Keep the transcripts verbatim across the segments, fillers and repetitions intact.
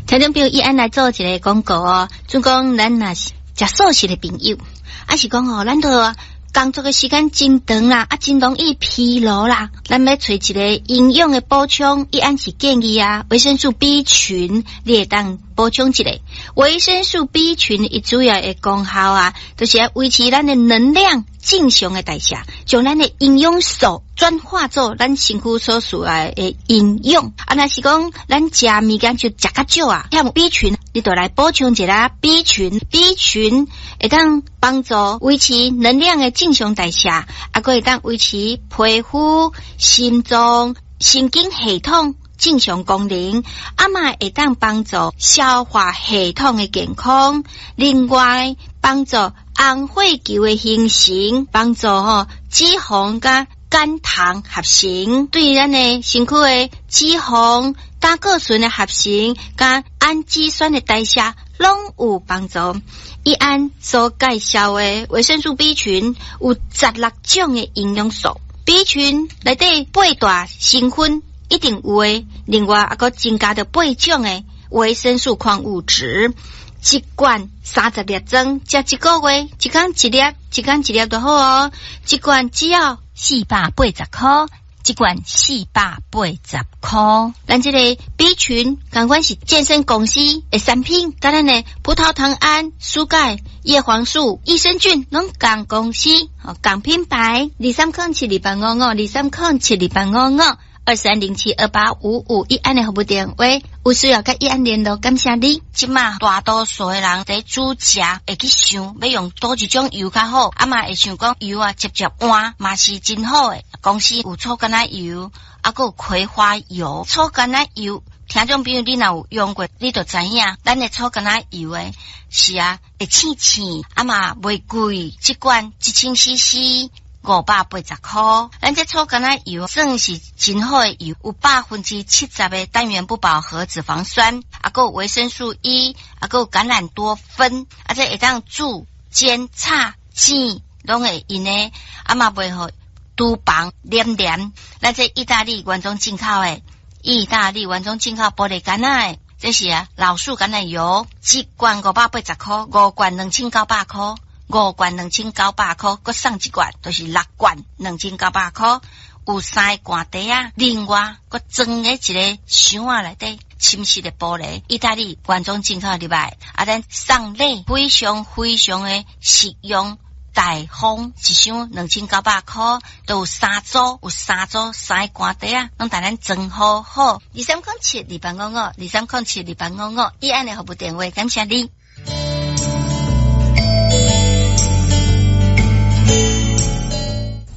聽眾朋友，伊按來做一个廣告哦，就講咱若是食素食的朋友，抑是講哦，咱都工作的時間真長啦，啊，真容易疲勞啦。咱欲揣一个營養的補充，伊按是建議啊，維生素 B 群，你會當補充一下。維生素 B 群伊主要的功效啊，就是愛維持咱的能量正常的代謝，將咱的營養素轉化做咱身軀所需要的營養。啊，若是講咱食物件就食較少啊，欠 B 群，你就來補充一下 B 群。B 群會當幫助維持能量的正常代謝，啊，閣會當維持皮膚、心臟、神經系統正常功能，啊嘛會當幫助消化系統的健康。另外，幫助紅血球的形成，幫助吼脂肪佮肝糖合成，對咱的身軀的脂肪、膽固醇的合成，佮氨基酸的代謝，攏有幫助。伊按所介紹的維生素 B 群有十六種的營養素，B 群內底八大成分一定有的，另外猶閣增加著八種的維生素礦物質。一罐三十粒裝，食一個月，一工一粒，一工一粒就好哦。一罐只要四百八十箍，一罐四百八十箍。咱這個 B 群，仝款是健身公司的產品，佮咱的葡萄糖胺、舒鈣、葉黃素、益生菌，攏仝公司，仝品牌。二三空七二八五五，二三空七二八五五。二三零七二八五五，一安的服務電話，有需要佮一安聯絡，感謝你。這馬大多數的人佇煮食會去想，欲用佗一種油較好，啊嘛會想講油啊，捷捷換嘛是真好的。公司有草橄欖油，啊閣有葵花油。草橄欖油，聽眾朋友你若有用過，你就知影，咱的草橄欖油的是啊，會醒醒，啊嘛袂貴，一罐一千 C C。五百八十箍，咱這草橄欖油算是真好的油，有百分之七十的單元不飽和脂肪酸，啊，閣有維生素 E，啊，閣有橄欖多酚，啊，這會當煮、煎、炒、煎，攏會用的，啊嘛袂予廚房黏黏。咱這意大利原裝進口的，意大利原裝進口玻璃罐仔的，這是啊老樹橄欖油，一罐五百八十箍，五罐兩千九百箍。五罐兩千九百箍，閣送一罐，就是六罐兩千九百箍。有三個罐袋仔，另外閣裝佇一个箱仔內底，深色的玻璃，意大利原裝進口入來，啊，咱送禮非常非常的實用大方，一箱兩千九百箍，都有三組，有三組三個罐袋仔，攏共咱裝好好。二三空七二八五五，二三空七二八五五，以案的服務電話，感謝你。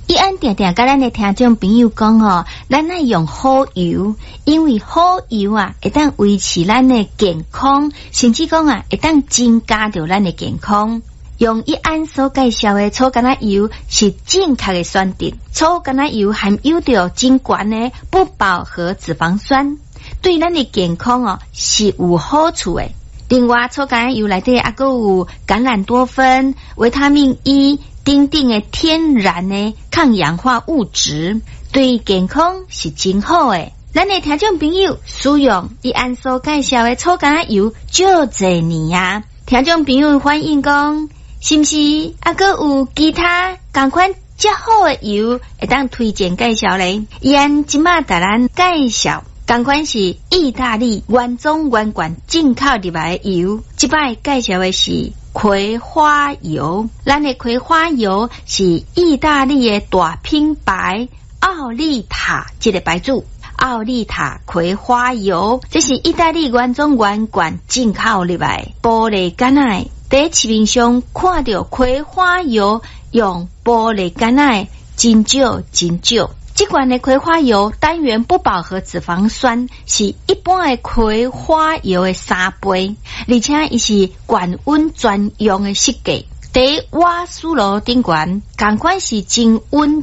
伊按定定佮咱的聽眾朋友講吼，咱愛用好油，因為好油啊，會當維持咱的健康，甚至講啊，會當增加著咱的健康。用伊按所介紹的草橄欖油是正確的選擇。草橄欖油含有著真懸的不飽和脂肪酸，對咱的健康哦是有好處的。另外，草橄欖油內底猶閣有橄欖多酚、維他命 E。等等的天然的抗氧化物質，對健康是真好的。咱的聽眾朋友使用伊按所介紹的草橄欖油，足濟年啊！聽眾朋友反映講，是毋是猶閣有其他仝款較好的油會當推薦介紹咧？伊按這馬共咱介紹，仝款是意大利原裝原罐進口入來的油。這擺介紹的是葵花油，咱的葵花油是意大利的大品牌奧利塔這个牌子，奧利塔葵花油，這是意大利原裝原罐進口入來，玻璃罐仔，佇市面上看著葵花油用玻璃罐仔，真少真少。這罐的葵花油單元不飽和脂肪酸是一般的葵花油的三倍，而且伊是高溫專用的設計。佇瓦斯爐頂懸，仝款是真穩